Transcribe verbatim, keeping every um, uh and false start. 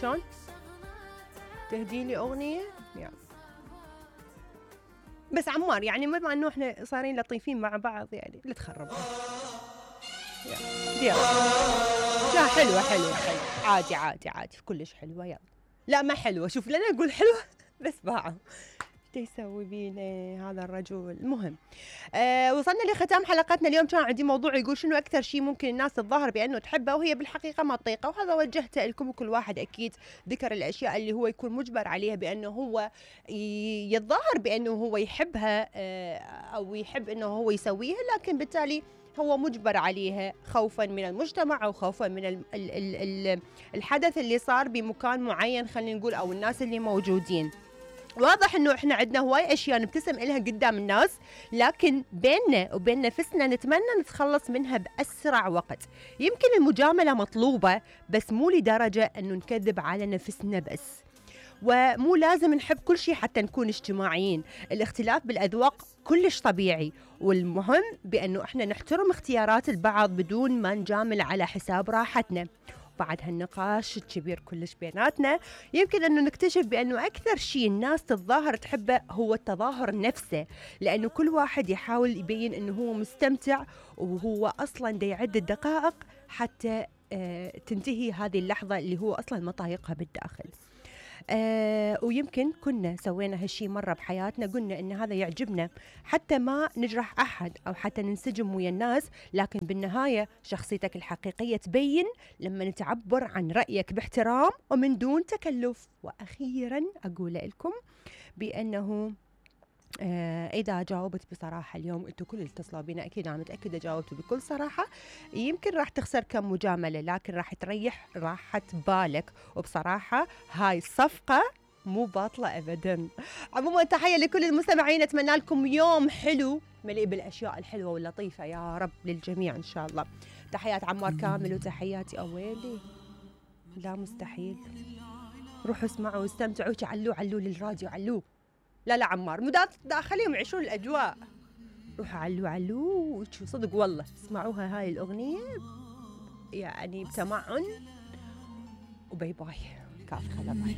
شلون تهدي لي اغنيه يعني. بس عمار يعني بما انه احنا صارين لطيفين مع بعض يعني لا تخربها. يلا لا حلوه حلوه حلوه عادي عادي عادي كلش حلوه. يلا لا ما حلوه، شوف لنا اقول حلوه بس باعوا ايش يسوي بينا هذا الرجل. المهم آه وصلنا لختام حلقتنا اليوم. كان عندي موضوع يقول شنو اكثر شيء ممكن الناس تتظاهر بانه تحبه وهي بالحقيقه ما تطيقه، وهذا وجهته لكم. وكل واحد اكيد ذكر الاشياء اللي هو يكون مجبر عليها بانه هو يتظاهر بانه هو يحبها آه او يحب انه هو يسويها، لكن بالتالي هو مجبر عليها خوفا من المجتمع او خوفا من ال ال ال ال الحدث اللي صار بمكان معين خلينا نقول او الناس اللي موجودين. واضح انه احنا عندنا هواي اشياء نبتسم لها قدام الناس، لكن بيننا وبين نفسنا نتمنى نتخلص منها باسرع وقت. يمكن المجامله مطلوبه بس مو لدرجه انه نكذب على نفسنا بس، ومو لازم نحب كل شيء حتى نكون اجتماعيين. الاختلاف بالاذواق كلش طبيعي، والمهم بانه احنا نحترم اختيارات البعض بدون ما نجامل على حساب راحتنا. بعد هالنقاش الكبير كلش بيناتنا يمكن أنه نكتشف بأنه أكثر شيء الناس تتظاهر تحبه هو التظاهر نفسه، لأنه كل واحد يحاول يبين أنه هو مستمتع وهو أصلا دا يعد الدقائق حتى آه تنتهي هذه اللحظة اللي هو أصلا ما طايقها بالداخل. آه ويمكن كنا سوينا هالشي مرة بحياتنا، قلنا إن هذا يعجبنا حتى ما نجرح أحد أو حتى ننسجم ويا الناس، لكن بالنهاية شخصيتك الحقيقية تبين لما نتعبر عن رأيك باحترام ومن دون تكلف. وأخيرا أقول لكم بأنه آه إذا جاوبت بصراحة اليوم، أنتوا كل اللي اتصلوا بينا أكيد أنا متأكدة جاوبتوا بكل صراحة، يمكن راح تخسر كم مجاملة لكن راح تريح راحة بالك. وبصراحة هاي الصفقة مو باطلة أبدا. عموما تحية لكل المستمعين، أتمنى لكم يوم حلو مليء بالأشياء الحلوة واللطيفة يا رب للجميع إن شاء الله. تحيات عمار كامل وتحياتي أويلي لا مستحيل. روحوا اسمعوا واستمتعوا، علوا علوا للراديو علوا. لا لا عمار مدات داخليهم يعيشون الأجواء. روحوا علوا علوا صدق والله اسمعوها هاي الأغنية يعني بتمعن. وباي باي كافي خلا باي.